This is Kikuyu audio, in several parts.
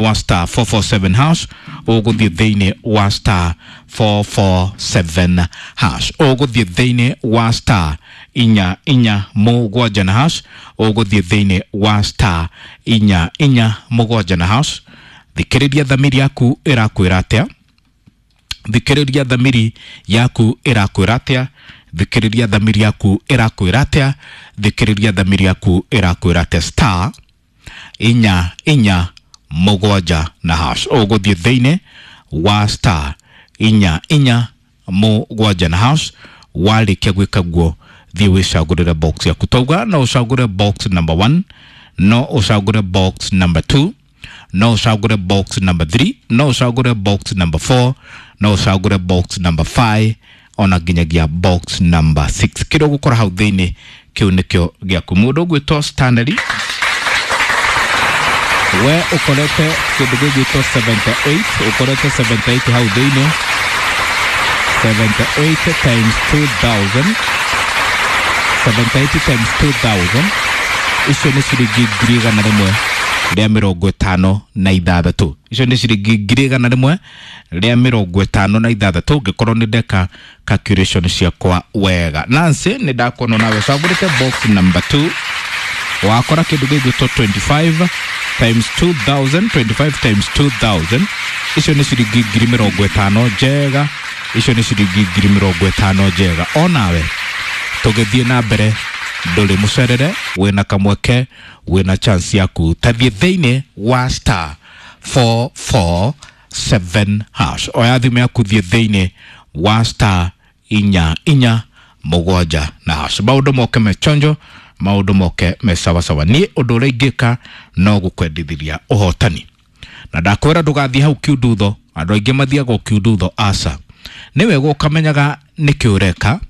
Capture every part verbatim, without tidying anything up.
Wa star four four seven hash, ũgũthiĩ thĩinĩ wa star four four seven hash, ũgũthiĩ thĩinĩ wa star inya inya mũgwanja na hash, ũgũthiĩ thĩinĩ wa star inya inya mũgwanja na hash. Thikĩrĩria thamiri yaku ĩrakwĩra atĩa, thikĩrĩria thamiri yaku ĩrakwĩra atĩa, thikĩrĩria thamiri yaku ĩrakwĩra atĩa, thikĩrĩria thamiri yaku ĩrakwĩra atĩa. Star inya inya mũgwanja na hash, ũgũthiĩ thĩinĩ wa star inya inya mũgwanja na hash. Warĩkia gwĩka guo, thiĩ wĩcagũrĩre box yaku. Tauga no ũcagũre box number one, no ũcagũre box number two, no ũcagũre box number three, no ũcagũre box number four, no ũcagũre box number five, ona nginyagia box number six. Kĩrĩa ũgũkora hau thĩinĩ kĩu nĩkĩo gĩaku. Mũndũ ũgwĩtwo Stanley, we ũkorete kĩndũ gĩgwĩtwo seventy-eight, ũkorete seventy-eight hau thĩinĩ. seventy-eight times two thousand, seventy-eight times two thousand, icio nĩ ciringi ngiri igana rĩmwe rĩa mĩrongo ĩtano na ithathatũ. Icio nĩ ciringi ngiri igana rĩmwe rĩa mĩrongo ĩtano na ithathatũ, ngĩkorwo nĩ ndeka calculation ciakwa wega. Nancy, nĩ ndakuona nawe ũcagũrĩte box number two, wakora kĩndũ gĩgwĩtwo twenty-five times two thousand, twenty-five times two thousand, icio nĩ ciringi ngiri mĩrongo ĩtano njega, icio nĩ ciringi ngiri mĩrongo ĩtano njega. Onawe tũgĩthiĩ na mbere, ndũrĩ mũcerere, wĩna kamweke, wĩna chance yaku. Tathiĩ thĩinĩ wa star four four seven hash, oya thimũ yaku, thiĩ thĩinĩ wa star inya inya mũgwanja na hash. Maũndũ moke mechonjo, maũndũ moke me sawasawa. Niĩ ũndũ ũrĩa ingĩka no gũkwendithĩria ũhotani, na ndakwĩra ndũgathiĩ hau kiundutho. Andũ aingĩ mathiaga kiundutho, aca. Nĩ wega ũkamenyaga nĩkĩ ũreka,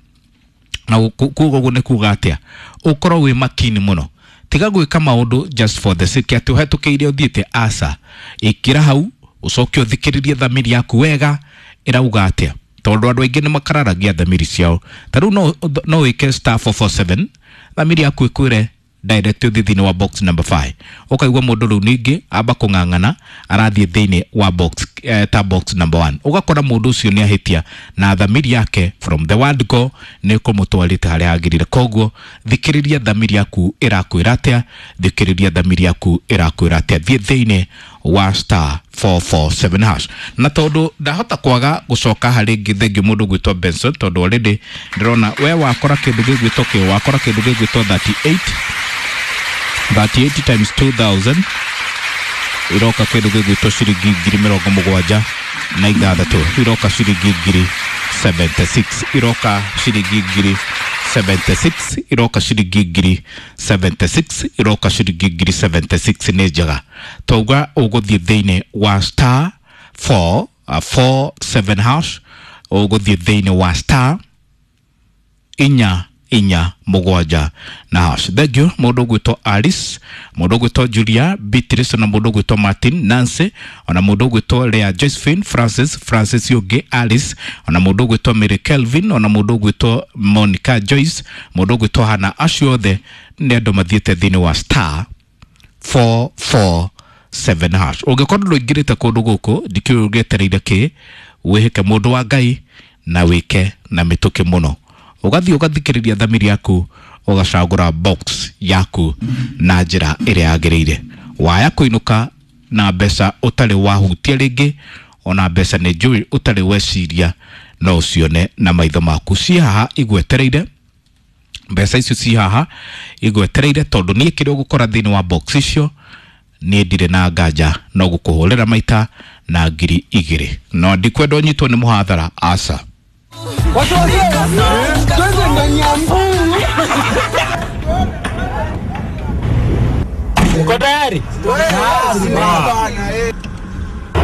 na kuga ũguo nĩ kuga atĩa, ũkorwo wĩ makini mũno. Tiga gwĩka maũndũ just for the sake atĩ ũhetũkĩire ũthiĩte, aca. Ĩkĩra hau, ũcoke ũthikĩrĩrie thamiri yaku wega ĩrauga atĩa, tondũ andũ aingĩ nĩ makararagia thamiri ciao. Ta rĩu no, no wĩke star four four seven, thamiri yaku ĩkwĩre direct ũthiĩ thĩinĩ wa box number five, ũkaigua mũndũ rĩu ningĩ amba kũng'ang'ana arathiĩ thĩinĩ wa box, eh, ta box number one, ũgakora mũndũ ũcio nĩ ahĩtia na thamiri yake from the word go nĩ kũmũtwarĩte harĩa agĩrĩire. Koguo thikĩrĩria thamiri yaku ĩrakwĩra atĩa, thikĩrĩria thamiri yaku ĩrakwĩra atĩa. Thiĩ thĩinĩ wa star four four seven hash. Na tondũ ndahota kwaga gũcoka harĩ ngĩ, thengiũ mũndũ gwĩtwo Benson, tondũ already ndĩrona we wakora kĩndũ gĩgwĩtwo kĩ, wakora kĩndũ gĩgwĩtwo thirty-eight, thirty-eight times two thousand, iroka kĩndũ gĩgwĩtwo ciringi ngiri mĩrongo mũgwanja na ithathatũ, iroka ciringi ngiri seventy-six, iroka ciringi ngiri seventy-six, iroka ciringi ngiri seventy-six, iroka ciringi ngiri seventy-six. Nĩ njega. Tauga ũgũthiĩ thĩinĩ wa star four, uh, four seven hash, ũgũthiĩ thĩinĩ wa star inya inya mũgwanja na hash. Thank you mũndũ ũgwĩtwo Alice, mũndũ ũgwĩtwo Julia Beatrice, na mũndũ ũgwĩtwo Martin Nancy, ona mũndũ ũgwĩtwo Lea Josephine Francis, Francis Yugi Alice, ona mũndũ ũgwĩtwo Mary Kelvin, ona mũndũ ũgwĩtwo Monica Joyce, mũndũ ũgwĩtwo Hannah. Acio othe nĩ andũ mathiĩte thĩinĩ wa star four four seven hash. Ũngĩkorwo ndũingĩrĩte kũndũ gũkũ, ndikĩũĩ ũgĩetereire kĩ, wĩhĩke mũndũ wa Ngai na wĩke na mĩtũkĩ mũno. Ũgathiĩ ũgathikĩrĩria thamiri yaku, ũgacagũra box yaku na njĩra ĩrĩa yagĩrĩire. Waya kũinũka na mbeca ũtarĩ wahutia rĩngĩ, ona mbeca nĩ njũĩ ũtarĩ weciria no ũcione na maitho maku. Ciĩ haha igwetereire, mbeca icio ciĩ haha igwetereire, tondũ niĩ kĩrĩa ũgũkora thĩinĩ wa box icio niĩ ndirĩ na nganja no gũkũhũrĩra maita na ngiri igĩrĩ. No ndikwenda ũnyitwo nĩ mũhathara, aca. Twende ndani ya mbu. Uko tayari?